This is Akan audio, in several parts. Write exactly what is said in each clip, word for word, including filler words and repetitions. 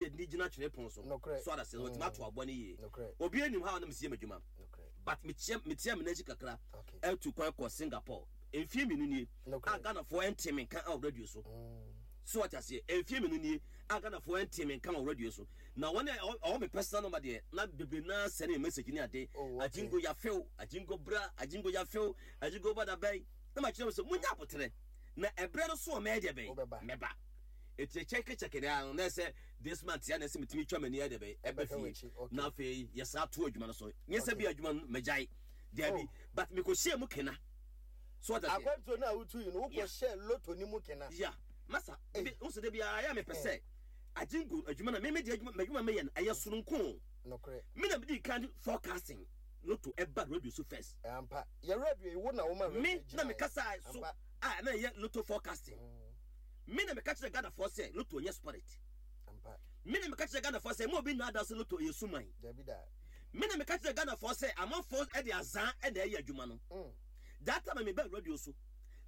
Yɛde gyina twene pon so. Nokorɛ. So adase no wɔtumi ato aboa no yie. Nokorɛ. Obi anim ha a ɔnam sie m'adwuma. Nokorɛ. But mekyia metia me n'akyi kakra. Okay. Ɛtu kwan kɔ Singapore mfie mmienu nie Nokorɛ. a Ghanafoɔ ɛnte me nka wɔ radio so. So wate aseɛ, mfie mmienu nie a Ghanafoɔ ɛnte me nka wɔ radio so. Na wɔn a ɛwɔ ɛwɔ me personal number deɛ, na bebree naa sɛne me message ne ade. Oh, okay. Agyingo yafew, Agyingo bra, Agyingo yafew, Agyingo ba da bɛn. Na makyerɛ wɔn sɛ munya aboterɛ na ɛberɛ no so a mɛyɛ deɛ bɛn? Wobɛba. Mɛba. Eti kyɛkekyɛke deɛ ano na ɛsɛ this month ya na ɛsɛ metumi twa m'ani ayɛ deɛ bɛn ɛbɛ Ɛbɛhwɛ fie. w'akyi, okay. Na afei yɛsan to adwuma no so. Nyɛ sɛ Okay. bi adwuma no magyae. Daabi, Oh. but mekɔhyia mu kena. So what I say? Akwantuo no a wotu yi no, Yeah. wokɔhyɛ loto no mu kena. Yeah. Masa, Ei. bi nso de biara yɛ mepɛ sɛ agyingo adwuma na meme de adwuma m'adwuma meyɛ no ɛyɛ soronko. Nokorɛ. Me na mede kan forecasting loto ɛba radio so first. Ampa. Yɛ radio yi, wo na woma radio Me na gyinaeɛ. mekasa so Ampa. a na ɛyɛ loto forecasting. Me na meka kyerɛ Ghanafoɔ sɛ loto nyɛ spirit. Ampa. Me na meka kyerɛ Ghanafoɔ sɛ mo obi nnaada sɛ loto yɛ suman. Dabi da. Me na meka kyerɛ Ghanafoɔ sɛ amanfoɔ ɛde azan ɛna ɛyɛ adwuma no. Mm. That time a meba radio so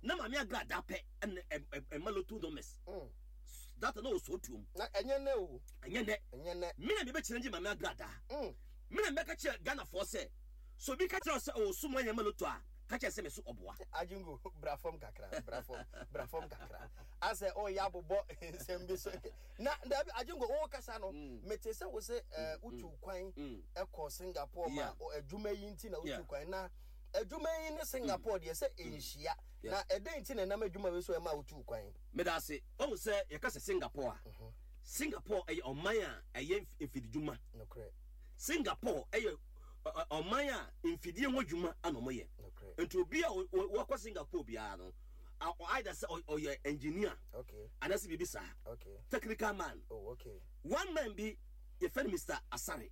na Maame Agrada pɛ ɛna ɛ- ɛ- ɛma loto numbers. Mm. That time na ɔsɔ tuom. Na ɛnyɛ nɛ o. Ɛnyɛ nɛ. Ɛnyɛ nɛ. Me na mebɛkyerɛ ngye Maame Agrada. Mm. Me na mebɛka kyerɛ Ghanafoɔ sɛ so obi ka kyerɛ wo sɛ ɔwɔ suman yɛ ma loto a, ka kyerɛ sɛ me so ɔboa. Agyingo, bra fam kakra, bra fam, bra fam kakra. Asɛ ɔyɛ abobɔ nsɛm bi so. Na dabi, Agyingo, wo kasa no, mete sɛ wo sɛ eh, wotu kwan ɛkɔ Singapore ma Yeah. o- adwuma yi nti na wotu Yeah. kwan. Na adwuma yi ne Singapore deɛ sɛ ɛnhyia. Yeah. Na ɛdɛn nti na ɛnam adwuma wei so ɛma wotu kwan? Meda ase. Ɔhu sɛ yɛka sɛ Singapore a, Singapore ɛyɛ ɔman a ɛyɛ mf- mfididwuma. Nokorɛ. Singapore ɛyɛ ɔ- ɔ- ɔman a mfidie ho adwuma ana ɔmo yɛ. Nokorɛ. Nti obi a ɔ- ɔ- wakɔ Singapore biara no, a- ɔ- either sɛ ɔ- ɔyɛ engineer Okay. anaasɛ biribi saa. Okay. Technical man. Oh, okay. One man bi yɛfrɛ no Mister Asare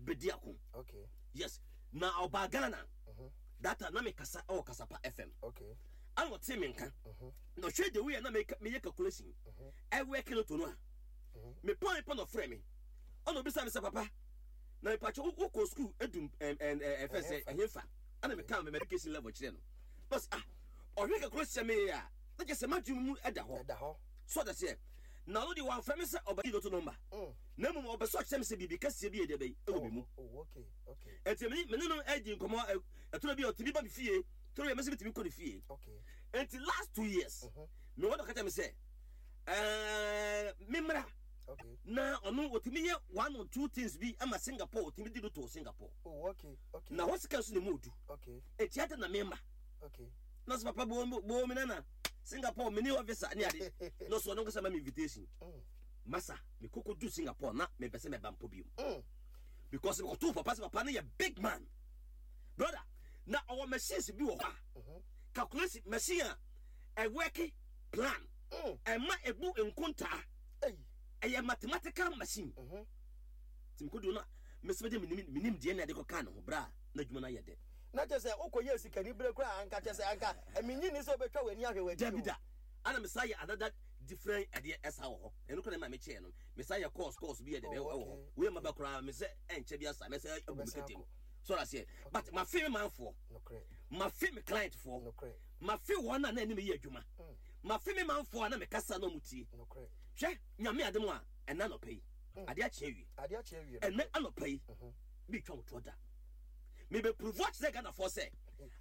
Bediako. Okay. Yes. Na ɔbaa Ghana. That time na mekasa ɛwɔ Kasapa F M. Okay. Ana ɔte me nka. Na ɔhwɛ the way a na meka meyɛ calculation. Ɛwɔ kilo no a. Me pɔn pɔn na ɔfrɛ me. Ɔna obisa me sɛ, "Papa, na mepakyɛ wokɔ school edum ɛm ɛm ɛfɛ sɛ ɛhefa?" Ana meka me education level kyerɛ no. Bɔs ah, ɔhwɛ calculation meyɛ a, na kyerɛ sɛ m'adwene mu ɛda hɔ. Ɛda hɔ. So ɔda seɛ. Na ɔno deɛ wamfrɛ me sɛ ɔbɛgye lotto number. Mm. Na mmom ɔbɛ sɛ ɔkyerɛ me sɛ biribi kɛseɛ bi yɛ deɛ bɛyi ɛwɔ me mu. Oh, okay. Okay. Enti me me ne no adi nkɔmmɔ ɛ- ɛtoro bi a ɔtumi ba me fie, toro bi a mɛsɛ metumi kɔ ne fie. Okay. Enti last two years, me wɔ dɔ ka kyerɛ me sɛ ɛɛ memmra Okay. na ɔno ɔtumi yɛ one or two things bi ama Singapore, ɔtumi di lotto wɔ Singapore. Oh, okay. Okay. Na hɔ sika nso ne mu odu. Okay. Enti ade na memma. Okay. Na sɛ papa bo bo me nana Singapore mene officer ne ade na ɔso ɔno nkasa ma me invitation. Masa, mekɔkɔ du Singapore na mepɛ sɛ mɛba mpo bio. Mm. Because mekɔtoo papa sɛ papa no yɛ big man, brother, na ɔwɔ machines bi wɔ hɔ a calculation machine a ɛwɔke plan Mm. ɛma ebu nkontaa. Hey. Ɛyɛ mathematical machine. Mhm. Nti mekɔdu no mesɛ mede menim menim deɛ na ɛde kɔkaa ne ho berɛ a na adwuma no ayɛ dɛ. Na kyerɛ sɛ wokɔyɛ sikani berɛ koraa anka kyerɛ sɛ anka menyi ni sɛ wobɛtwa w'ani ahwɛ w'akyi Dabi o. da. Ana mesa yɛ another different ɛdeɛ ɛsa wɔ hɔ. Ɛno koraa na ma mekyɛɛ no mesa yɛ course course bi yɛ dɛ Oh, ɛwɔ okay. hɔ wei ma ba koraa mesɛ ɛnkyɛ bi asa mɛsɛ agu me Wobɛsan ketem akɔ. so aseɛ, but mafe me manfoɔ. Nokorɛ. Mafe me client foɔ. Nokorɛ. Mafe wɔn a na anim yɛ adwuma. Mafe me manfoɔ a na mekasa na ɔmo tie. Nokorɛ. Hwɛ, Nyame adom a, ɛna anɔpa yi adeɛ akye awie. Adeɛ akye awie. Ɛnɛ anɔpa yi bi twa wo toɔ da mebɛprove akyerɛ Ghanafoɔ sɛ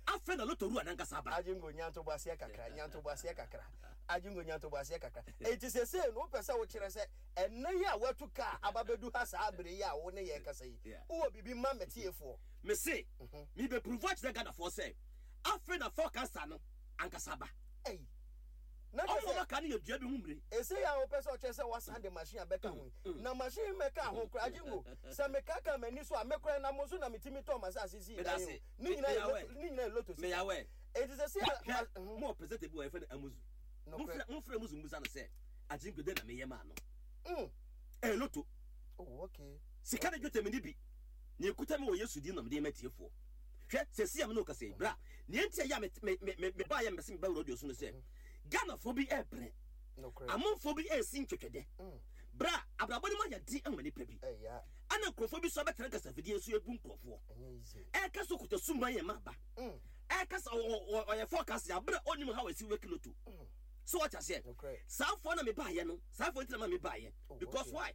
afei na lotto wura nankasa aba. Agyingo, nyantoboaseɛ kakra, nyantoboaseɛ kakra, Agyingo, nyantoboaseɛ kakra. Enti sesei no wopɛ sɛ wokyerɛ sɛ ɛnɛ yi a woatu kaa aba bɛdu ha saa bere yi a wo ne yɛn kasa yi, Yeah. wowɔ biribi ma mɛtiefoɔ? Mese mebɛprove akyerɛ Ghanafoɔ sɛ afei na forecaster no ankasa aba. Ei, na kyerɛ ɔmo sɛ maka no yɛ dua bi ho mmire. Ɛsei a wopɛ sɛ ɔkyerɛ sɛ wasan de machine abɛka ho yi, na machine mɛka ho koraa, Agyingo, sɛ mekaka m'ani so a, mekora nam so na metumi tɔɔ m'asase sii dan o. Ne nyinaa yɛ lotto, ne nyinaa yɛ lotto sika. Meyawɛ. Enti sɛ sɛ Hwɛ, mo presenter bi wɔ yɛfrɛ no Amuzu. Nokorɛ. Momfrɛ momfrɛ Amuzu mmusa no sɛ Agyingo dɛn na meyɛ maa no. Mm. Ɛyɛ lotto. Oh, okay. Sika ne dwetɛ me ne bi na ekuta me wɔ Yesu din na mede ma tiefoɔ. Hwɛ, sɛ si a me ne wo kasa yi, bra nea nti a ɛyɛ a me me me me baayɛ mepɛ sɛ meba radio so no sɛ Ghanafoɔ bi ɛɛbrɛ. Nokorɛ. Amanfoɔ bi ɛɛsi ntwetwɛdɛ. Bra, abrabɔ no mu ayɛ den ama nipa bi. Ɛya. Ɛna nkurɔfoɔ bi so abɛtena nkasafidie so ebu nkurɔfoɔ. Ɛnyɛ easy. Ɛɛka sɛ okuta suman yɛ ma aba. Mm. Ɛɛka sɛ ɔ- ɔ- ɔyɛ forecast abere a ɔnim how esi wɔ lotto. So wɔte aseɛ? Nokorɛ. Saa foɔ na mebaayɛ no, saa foɔ nti na ma mebaayɛ. Oh, because okay. why?